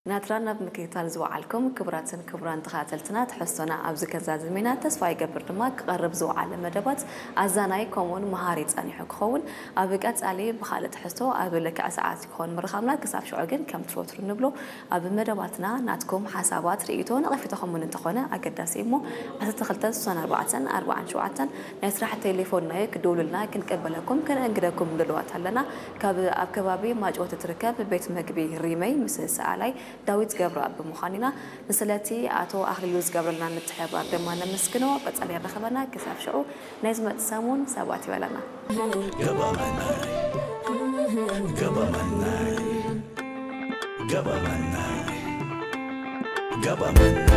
ናትራ ናብ ምክትታል ዝወዓልኩም ክቡራትን ክቡራን ተኸታተልትና፣ ትሕዝቶና ኣብዚ ከዛዝም ኢና። ተስፋ ይገብር ድማ ክቐርብ ዝወዓለ መደባት ኣዛናይ ከምኡውን መሃሪ ጸኒሑ ክኸውን። ኣብ ቀጻሊ ብኻልእ ትሕዝቶ ኣብ ልክዕ ሰዓት ክኸውን ምርኻብና። ክሳብ ሽዑ ግን ከምቲ ወትሩ ንብሎ ኣብ መደባትና ናትኩም ሓሳባት፣ ርእይቶ፣ ነቐፌታኹም እውን እንተኾነ ኣገዳሲ እሞ ዓሰርተ ክልተ ስሳን ኣርባዕተን ኣርባዓን ሸውዓተን ናይ ስራሕ ቴሌፎንና እዩ። ክድውሉልና ክንቀበለኩም ከነእንግደኩም ድልዋት ኣለና። ካብ ኣብ ከባቢ ማጭወቲ ትርከብ ቤት መግቢ ሪመይ ምስ ሰኣላይ ዳዊት ገብረኣብ ብምዃን ኢና። ንስለቲ ኣቶ ኣኽሊሉ ዝገብረልና ምትሕብባር ድማ ነመስግኖ። ቀጻሊ የራኽበና። ክሳብ ሽዑ ናይ ዝመጽእ ሰሙን ሰባት ይበለና። ገባመናይ ገባመናይ ገባመናይ ገባመናይ